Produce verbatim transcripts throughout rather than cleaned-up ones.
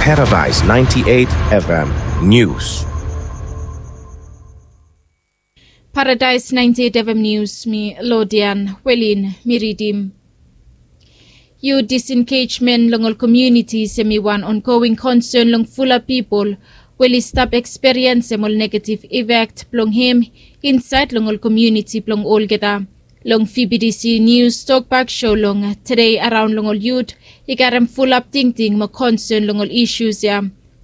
Paradise ninety-eight F M News. Paradise ninety-eight F M News, mi Lodian Welin mi ridim. Yu disengejmen long ol komiunitis hemi wan ongoing konsern long fulap pipol we oli stap eksperiensem ol negativ ifek blong hem insaed long ol komiuniti blong olgeta. Long V B D C News Tokbak Show long tede araon long ol yut i karem fulap tingting mo konsern long ol isus ya.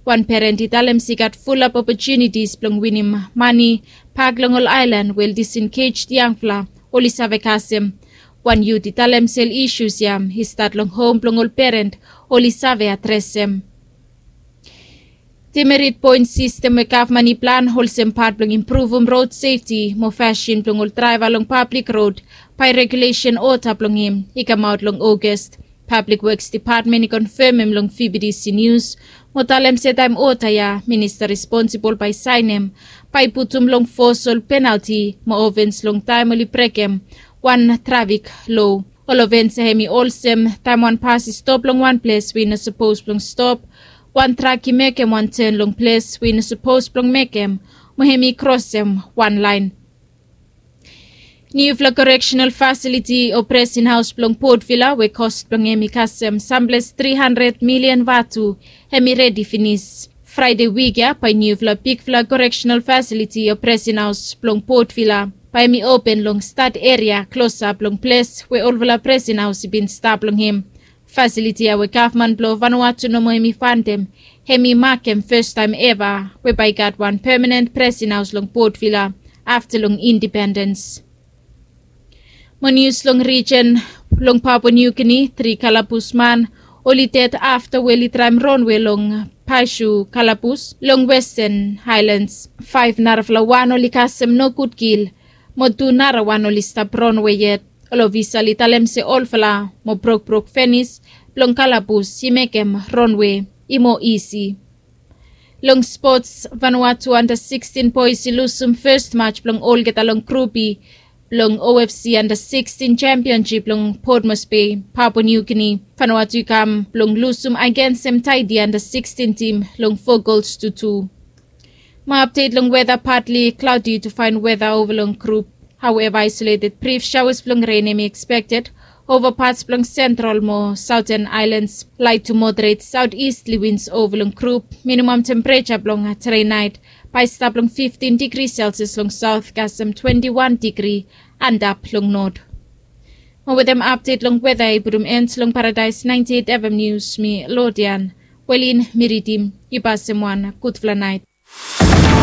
Wan peren i talem se i gat fulap opotunitis blong winim mane bak long ol aelan we ol disengejed yangfala oli save kasem. Wan yut i talem se ol isus ya i stat long hom blong ol peren oli save adresem. Demerit poen sistem we gavman i plan olsem pat blong impruvum rod sefti mo fasin blong ol draeva long pablik rod bae regulesen oda blong hem i kamaot long Ogas. Pablik Woks Depatmen i konfemem long V B D C Nius mo talem se taem oda ya minista responsibol bae saenem bae i putum long fos ol penalti mo ovens long taem oli brekem wan trafik lo. Ol ovens ya hemi olsem taem wan bas i stop long wan ples we i no sapos blong stop, wan trak i mekem wan ten long ples we i no sapos blong mekem, mo hemi krosem wan laen. Niufala koreksenal fasiliti o presin haos blong Port Vila we kos blong hem i kasem samples tri handred milian vatu hemi redi finis. Fraede wik ya bae niufala bigfala koreksenal fasiliti o presin haos blong Port Vila bae hemi open long stat eria klosap long ples we olfala presin haos i bin stap long hem. Fasiliti ya we gavman blong Vanuatu nomo hemi fandem hemi makem fastaem eva we bae i gat wan pemanen presin haos long Port Vila afta long indipendens. Mo nius long rijen long Papua Niu Gini, tri kalabus man oli ded afta we oli draem ronwe long Paesu kalabus long Westan Haelans. Faef narafala wan oli kasem nogud kil mo tu narawan oli stap ronwe yet. Ol ofisal i talem se olfala mo brokbrok fenis blong kalabus i mekem ronwe i moa isi. Long spots, Vanuatu anda sikstin boes i lusum fes maj blong olgeta long grup B blong O F C anda sikstin jempionjip long Port Moresby, Papua Niu Gini. Vanuatu i kam blong lusum agensem Taiti anda sikstin tim long fo gols tu tu. Mo apdet long weta, patli klaodi tu faen weta ova long grup. Haueva, aesoleted brif saoas blong ren hemi ekspekted ova pats blong sentral mo saoten aelans. Laet tu moderet saoteastli wins ova long grup. Minimam tempereja blong tede naet bae i stap long fiftin digri selsias long saot kasem twenti wan digri antap long not. Mo wetem apdet long weta i putum en long Paradaes naenti eit F M nius, mi Lodian Welin mi ridim. Yu pasem wan gudfala naet.